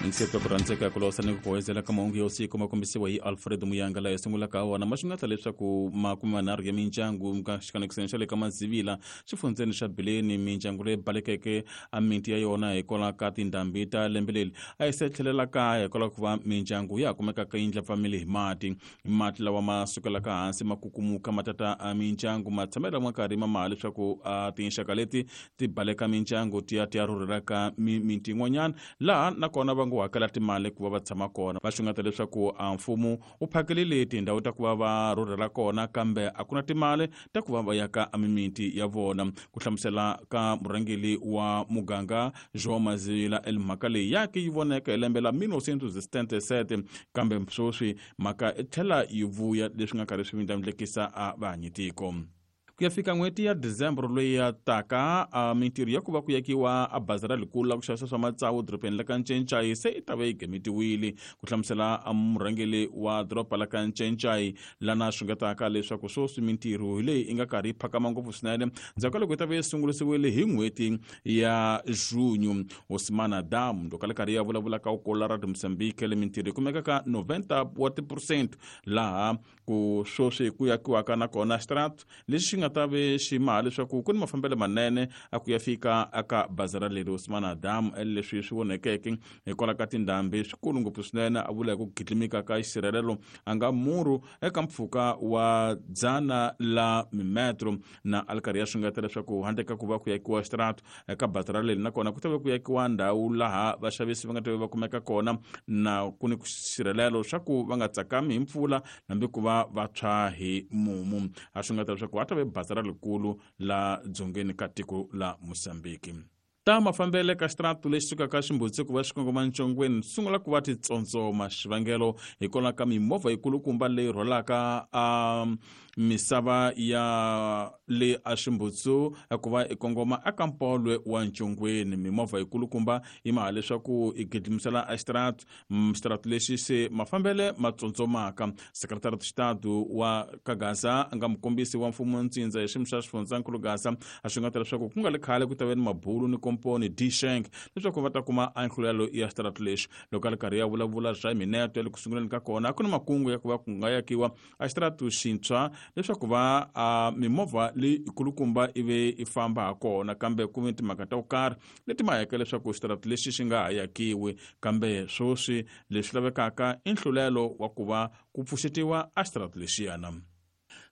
Minseto ku rhandzeka ku losa ni ku kuwezela ka mahungu ya usiku ma kombisiwa hi Alfred Muyanga laha hi sungulaka wona ma xungeta leswaku 30 ya mindyangu ka xikanekiseni xa le ka Mazivila xifundzeni xa Bileni, mindyangu leyi balekeke a miti ya yona hikwalaho ka tindhambi ta lembe leri a yi se tlhelela kaya hikwalaho ku va mindyangu ya ha kumekaka yi ndlapfamile hi mati. Mati lawa ma sukelaka hansi ma kukumuka ma tata a mindyangu ma tshamela ma karhi ma maha leswaku a tinxaka leti ti baleka mindyangu ti ya ti ya rhurhela ka miti yin'wanyana laha nakona va ngo hakela timali ku va va tshama kona. Va xungeta leswaku a mfumo wu phakelile tindhawu ta ku va va rhurhela kona, kambe a ku na timali ta ku va va yaka emimiti ya vona. Ku hlamusela ka murhangeri wa muganga João Mazila, el mhaka leyi yake yi voneka hi lembe la 1977, kambe sweswi mhaka yi tlhela yi vuya, leswi nga karhi swi vindlavindlekisa a vahanyitiko. Ku ya fika n'hweti ya December leyi ya taka, a mintirho ya ku va ku yakiwa a bazi ra likulu la ku xavisa swa matsawu dorobeni la ka Ncencai se i ta va yi gemetiwile, ku hlamusela a murhangeri wa doroba la ka Ncencai, lana xungetaka leswaku sweswi mintirho hi leyi i nga karhi yi phakama ngopfu swinene ndzhaku ka loko yi ta va yi sungurisiwile hi n'hweti ya Junho. Osman Adam loko a le karhi ya vulavula ka Ukola Radio Mozambique, le mintirho yi kumeka ka 90 wa tiphurosente laha ku sweswi ku yakiwaka na kona xitarata lexi xi nga ta ve xi maha leswaku ku ni mafambelo manene a ku ya fika aka bazi ra leri. Osman Adam leswi swi vonekeke hikwalaho ka tindhambi swikulu ngopfu swinene, a vula hi ku gidlimika ka xisirhelelo a nga murhu eka mpfhuka wa 100 la mimetro, na a ri karhi ya xungeta leswaku handle ka ku va ku yakiwa xitarata eka bazi ra leri, nakona ku ta va ku yakiwa ndhawu laha vaxavisi va nga ta va va kumeka kona na ku ni sirhelelo swa ku va nga tsakami hi mpfula hambi ku va va tshwa hi mumu. A xungeta leswaku a ta ve bazi ra likulu la dzongeni ka tiko la Mozambique. Ta mafambele ka xitaratu lexi sukaka Ximbutse ku va xi kongoma Ncongweni sungula ku va titsontsoma, xivangelo hikwalaho ka mimovha yikulukumba leyi rhwalaka a misava ya le a Ximbutsu ku va i kongoma eka mpolwe wa Ncongweni. Mimovha yikulukumba yi maha leswaku i gidlimisela a xitaratu, xitaratu lexi se mafambele ma tsontsomaka. Sekretari xitatu wa Kagaza a nga mukombisi wa mfumo ntsindza hi xiyimo xa xifundzankulu Gaza a xungeta leswaku ku nga le khale ku ta ve ni mabulu ni komponi D-Shank leswaku va ta kuma anhlulelo ya xitaratu lexi. Loko a ri karhi ya vulavula swa mineto ya le ku sunguleni ka kona, a ku na makungu ya ku va ku nga yakiwa a xitaratu xintshwa leswaku va a mimovha leyi kulukumba ivi i famba ha kona, kambe ku ve timhaka ta ku karhi leti maheke leswaku xitaratu lexi xi nga ha yakiwi, kambe sweswi leswi lavekaka i nhlulelo wa ku va ku pfuxetiwa a xitaratu lexiyana.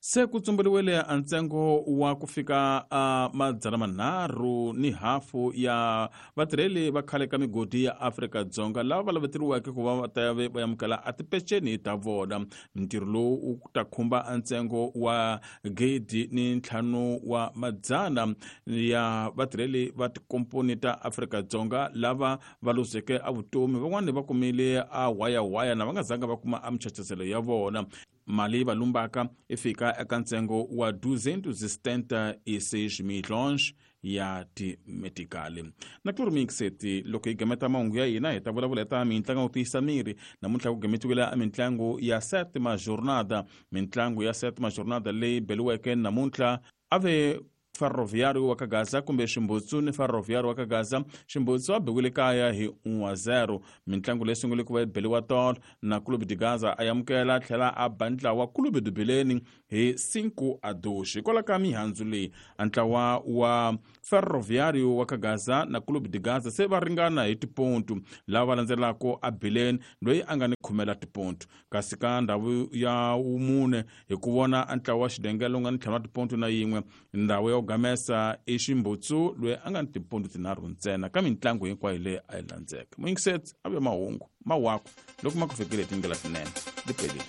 Se ku tsumburiwile a ntsengo wa ku fika a 350 ya vatirheli va khale ka migodi ya Afrika-Dzonga lava va laveteriweke ku va va ta ve va amukela a tipeceni ta vona. Ntirho lowu wu ta khumba a ntsengo wa 1500 ya vatirheli va tikomponi ta Afrika-Dzonga lava va luzeke a vutomi, van'wani va kumile a wayawaya na va nga zanga va kuma a michachazelo ya vona. Mali va lumbaka i fika eka ntsengo wa 276 milhões ya timetikali. Na kloromixeti loko hi gameta mahungu ya hina hi ta vulavula hi ta mintlangu ya ku tiyisa miri. Namuntlha ku gametiwile a mintlangu ya septima jornada. Mintlangu ya septima jornada leyi beliweke namuntlha a ve Ferroviário wa ka Gaza kumbe Ximbutsu ni Ferroviário wa ka Gaza. Ximbutsu a biwile kaya hi 1-0. Mintlangu leyi sungule ku va yi beliwa tolo na Clube de Gaza a amukela tlhela a ba ntlawa Clube de Bileni hi 5-2. Hikwalaho ka mihandzu leyi, a ntlawa wa Ferroviário wa ka Gaza na Clube de Gaza se va ringana hi tipontu, lava va landzelaka a Bileni loyi a nga ni khume la tipontu. Kasi ka ndhawu ya wumune hi ku vona a ntlawa wa Xidengele lowu nga ni ntlhanu wa tipontu na yin'we, ndhawu ya ku gamesa i Ximbutsu loyi a nga ni tipontu tinharhu ntsena ka mintlangu hinkwayo leyi a yi landzeke. Muyingiseti a ve mahungu mawako loko ma ku fikile hi tindlela tinene lipelile.